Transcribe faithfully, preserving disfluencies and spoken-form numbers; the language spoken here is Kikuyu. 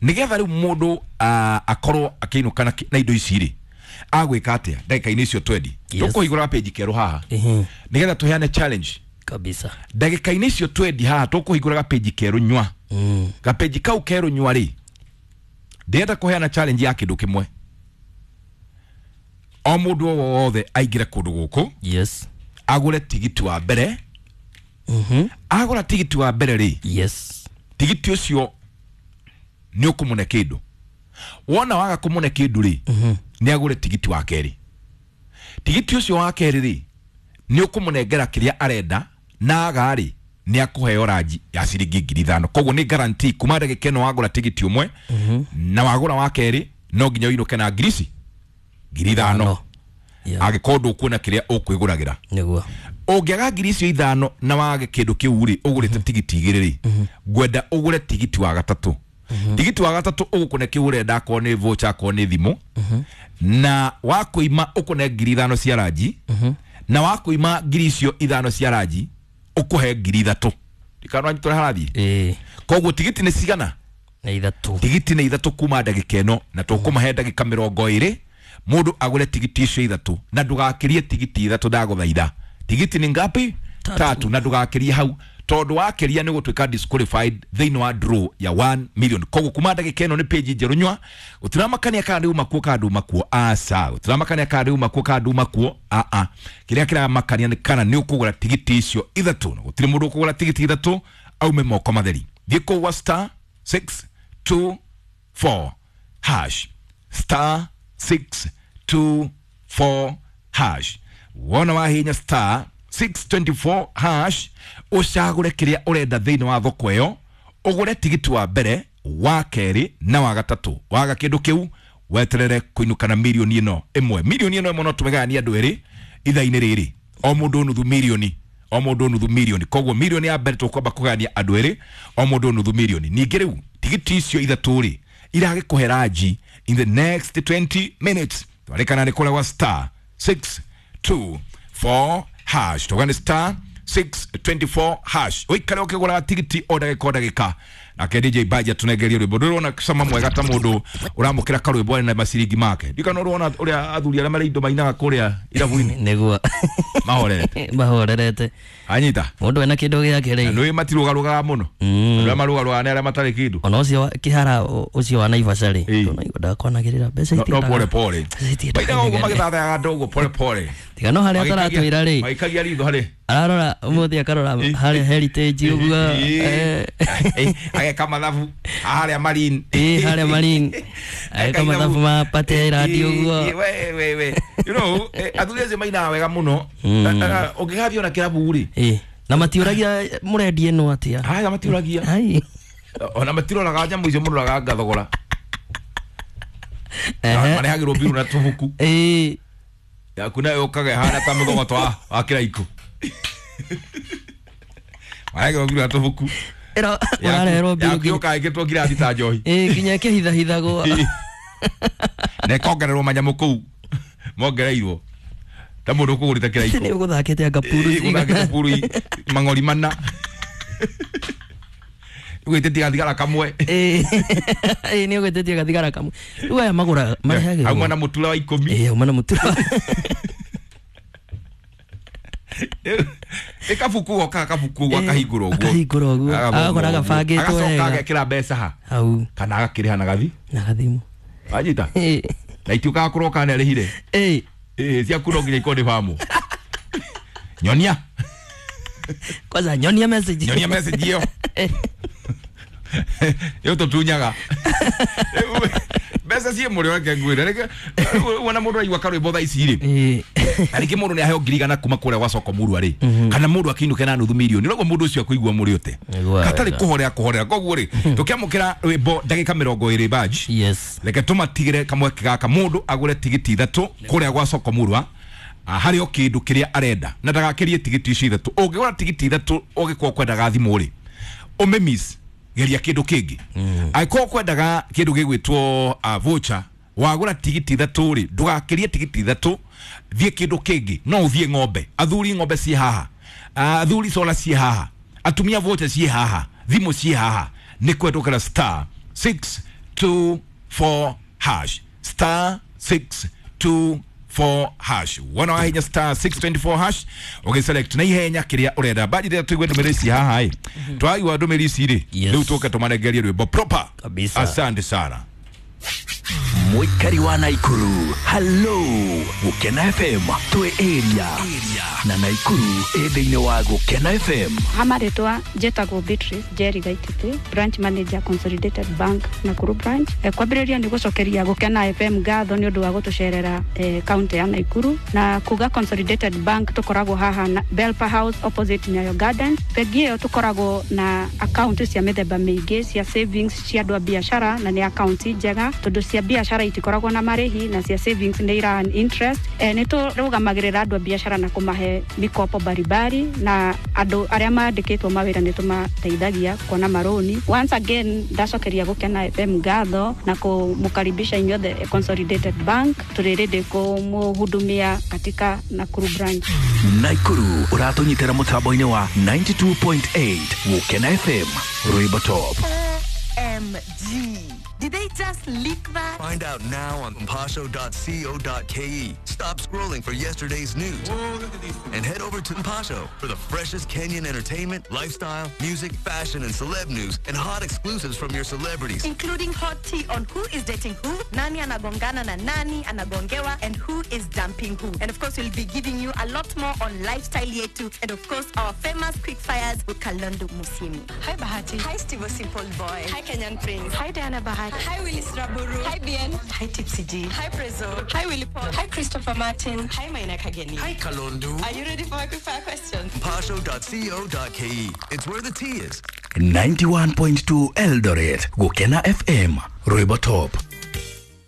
Nigetha riu mundu akorwo akiinuka na na indo ici ri agwika atia ndagika-inĩ icio twendi Yes. tukuhingũra page kerũ haha Ehe. nigetha tuheane challenge Kabisa. ndagika-inĩ icio twendi haha tukuhingũra gapeji kerũ nywa Mm. gapeji kau kerũ nywa rĩ ndĩrenda kũheana challenge ya kĩndũ kĩmwe o mũndũ o wothe aingĩre kũndũ gũkũ Yes. agũre tigiti wa mbere Mhm. agũra tigiti wa mbere rĩ Yes. tigiti ũcio nĩ ũkũmũne kĩndũ wona waga kũmũne kĩndũ rĩ Mhm. nĩ agũre tigiti wa kerĩ tigiti ũcio wa kerĩ rĩ nĩ ũkũmũnengera kĩrĩa arenda na aga rĩ nĩ akũheo ranji ya ciringi ngiri ithano koguo nĩ guarantee kuma ndagĩka ĩno wagũra tigiti ũmwe na wagũra wa kerĩ no nginya ũinũke na ngiri ici ngiri ithano Yeah. angĩkorwo ndũkuona kĩrĩa ũkwĩgũragĩra Nĩguo. ũngĩaga ngiri icio ithano na wage kĩndũ kĩu rĩ ũgũrĩte tigiti igĩrĩ rĩ ngwenda ũgũre tigiti wa gatatũ tigiti wa gatatũ ũgũkũne kĩu ũrenda akorwo nĩ voucher akorwo nĩ thimũ na wakũima ũkũne ngiri ithano cia ranji na wakũima ngiri icio ithano cia ranji ũkũhe ngiri ithatũ ndikananyitwo harathiĩ Ĩĩ. koguo tigiti nĩ cigana Nĩ ithatũ. tigiti nĩ ithatũ kuma ndagĩka ĩno na tũkũmahe ndagĩka mĩrongo ĩrĩ mũndũ agũre tigiti icio ithatũ na ndũgakĩrie tigiti ithatũ ndagũthaitha tigiti nĩ ngapi Tatu. tatu na ndũgakĩrie hau tondũ wakĩria nĩ gũtuĩka disqualified thĩinĩ wa draw ya one million koguo kuma ndagĩka ĩno nĩ page njerũ nywa gũtiramakania kana ndĩuma kuo kana nduma kuo aca gũtiramakania kana ndĩuma kuo kana nduma kuo aa kĩrĩa kĩramakania nĩ kana nĩ ũkũgũra tigiti icio ithatũ na gũtirĩ mũndũ ũkũgũra tigiti ithatũ aume moko matheri thiĩ kũu wa star six two four hash star six two four hash wona wahinya star six twenty four hash ũcagũre kĩrĩa ũrenda thĩinĩ wa thoko ĩyo ũgũre tigiti wa mbere wa kerĩ na wa gatatũ waga kĩndũ kĩu weterere kũinũka na mirioni ĩno ĩmwe mirioni ĩno ĩmwe no tũmĩgayanie andũ erĩ ithaa-inĩ rĩrĩ o mũndũ nuthu mirioni o mũndũ nuthu mirioni koguo mirioni ya mbere tũkwamba kũgayania andũ erĩ o mũndũ nuthu mirioni ningĩ rĩu tigiti icio ithatũ rĩ iragĩkũhe ranji in the next twenty minutes twarĩkana nĩ kũrĩa gwa star six two four hash tuga nĩ star six twenty four hash ũikare ũkĩgũraga tigiti o ndagĩka o ndagĩka nake D J Baja tunengerie rwĩmbo ndũrona cama mwega ta mũndũ ũramũkĩra karwĩmbo na maciringi make ndikana ũrona ũrĩa athuri arĩa marĩ indo mainaga kũrĩa irabu-inĩ Nĩguo. mahorerete Mahorerete. anyita Mũndũ ena kĩndũ gĩake na rĩ. nĩ matirũgarũgaga mũno Mm. andũ arĩa marũgarũgaga nĩ arĩa matarĩ kĩndũ Ona ũcio wa- kĩhara ũ- ũcio wa Naivasha rĩ. Ĩĩ. Ndũnaigua ndakwanagĩrĩra mbeca no no itiendaga- pole pole mbeca itiendaga mainaga ũguo inegene. magĩthathayaga andũ ũguo pole pole Tiga no harĩa ataratwĩra rĩ. magĩikagia ritho harĩ Ararora ũmũthĩ akarora harĩa Heritage ũguo. eh, Eh, ageka mathabu harĩa Marine Ĩĩ harĩa Marine. Ageka mathabu ma Party Island ũguo. Eh, we we we you know eh, athuri acio mainaga wega mũno Mm. Eh, eh, ũngĩgathiĩ ona kĩrabu rĩ Ĩĩ. Na matiũragia mũrendia ĩno atĩa. haya matiũragia Ai. ona matiroraga nyamũ icio mũroraga ngathogora Ehe. marehagĩrwo mbiru na tũbuku Ĩĩ. yaku nayo ũkaga ĩhana ta mũthogoto wa wa kĩraikũ marehagĩrwo mbiru na tũbuku Ĩro ũrareherwo mbiru yaku nginya. yũkaga ĩkĩrĩtwo ngirathi ta njohi Ĩĩ nginya ĩkĩhithahithagwo. na ĩkongererwo manyamũ kũu mongereirwo ta mũndũ ũkũgũrĩte kĩraikũ Nĩ ũgũthakĩte anga puru Ĩ, cigana. ũthakĩte puru i- mang'ori mana ũgĩtĩtie gathigara kamwe Ĩĩ. Ĩĩ nĩ ũgĩtĩtie gathigara kamwe. Rĩu aya magũraga marehagĩrwo. auma na mũtura wa ikũmi Ĩĩ auma na mũtura. ĩ kabuku gokaga kabuku ũguo Ĩ, akahingũra ũguo akahingũra ũguo. Agathoma Agakora ũguo. gabangĩtwo agacoka wega. agekĩra mbeca ha Hau kana agakĩrĩha na gathi na gathimũ. wanyita Ĩĩ. na itiũkaga kũroka nĩ arĩhire Ĩĩ. Ĩ, ciaku no nginya ikorwo nĩ bamu nyonia Kwanza nyonia message. nyonia message ĩyo ĩyo tũtunyaga mbeca ciĩ mũrĩo reke ngwĩre reke wona mũndũ aigua karwĩmbo thaa ici rĩ Ĩĩ. na rĩngĩ mũndũ nĩ aheo ngiri igana kuma kũrĩa gwa soko murwa rĩ kana mũndũ akĩinũke na nuthu mirioni noguo mũndũ ũcio akũigua mũrĩo te Nĩguo hatarĩ wega. kũhorera kũhorera koguo rĩ tũkĩamũkĩra rwĩmbo ndagĩka mĩrongo ĩrĩ badge Yes. reke tũmatigĩre kamweke gaka mũndũ agũre tigiti ithatũ kũrĩa gwa soko murwa ah, harĩ o kĩndũ kĩrĩa arenda na ndagakĩrie tigiti icio ithatũ ũngĩgũra tigiti ithatũ ũngĩkorwo kwendaga thimũ rĩ ũmĩmiss geria kĩndũ kĩngĩ angĩkorwo kwendaga kĩndũ gĩgwĩtwo uh, voucher wagũra tigiti ithatũ rĩ ndũgakĩrie tigiti ithatũ thiĩ kĩndũ kĩngĩ no ũthiĩ ng'ombe athuri ng'ombe ciĩ haha Ah, athuri sola ciĩ haha atumia voucher ciĩ haha thimũ ciĩ haha nĩ kwendũkĩra star six two four hash, star six two four hash. Wona wahinya star six twenty-four hash ugiselect na ihenya kiria urenda. Bajire tuigue ndumĩrĩri ici haha ĩ, twaigua ndumĩrĩri ici rĩ, Yes. rĩu tũke tũmarengerie rwĩmbo proper. Kabisa. Asante sana. Mwikari wa Naikuru, hello Gukena F M twi area na Naikuru ĩ thĩinĩ wa Gukena F M. Hamarĩtwa njĩtagwo Beatrice Jerry Gaititi, branch manager Consolidated Bank Nakuru branch. E, kwambĩrĩria nĩ gũcokeria Gukena F M ngatho nĩ ũndũ wa gũtũcerera e, kaunti ya Naikuru na kuga Consolidated Bank tũkoragwo haha na Belpa House opposite Nyayo Gardens. Bengi ĩyo tũkoragwo na account cia mĩthemba mĩingĩ cia savings cia andũ a biacara na nĩ account njega tondũ cia biacara itikoragwo na marĩhi na cia savings nĩ ira earn interest. E, nĩ tũrũgamagĩrĩra andũ a biacara na kũmahe mikopo baribari na andũ arĩa mandĩkĩtwo mawĩra nĩ tũmateithagia kuona marũni. Once again ndacokeria Gukena F M ngatho na kũmũkaribisha inyuothe Consolidated Bank, tũrĩ ready kũmũhudumia katika Nakuru branch. Naikuru ũratũnyitĩra mũtambo-inĩ wa ninety-two point eight Gukena F M Rwĩmbo Top. O M G. Did they just leak that? Find out now on mpasho dot co dot K E. Stop scrolling for yesterday's news and head over to Mpasho for the freshest Kenyan entertainment, lifestyle, music, fashion, and celeb news and hot exclusives from your celebrities. Including hot tea on who is dating who, nani anagongana na nani anagongewa, and who is dumping who. And of course, we'll be giving you a lot more on lifestyle yetu and of course, our famous quick fires with Kalondo Musimi. Hi Bahati. Hi Steve Simple Boy. Hi Kenyan Prince. Hi Diana Bahati. Hi Willis Raburu. Hi Bien. Hi Tipsy G. Hi Prezo. Hi Willy Paul. Hi Christopher Martin. Hi Maina Kageni. Hi Kalondu. Are you ready for my quick fire questions? mpasho dot co dot K E. It's where the tea is. ninety-one point two Eldoret, Gukena F M, Rwĩmbo Top.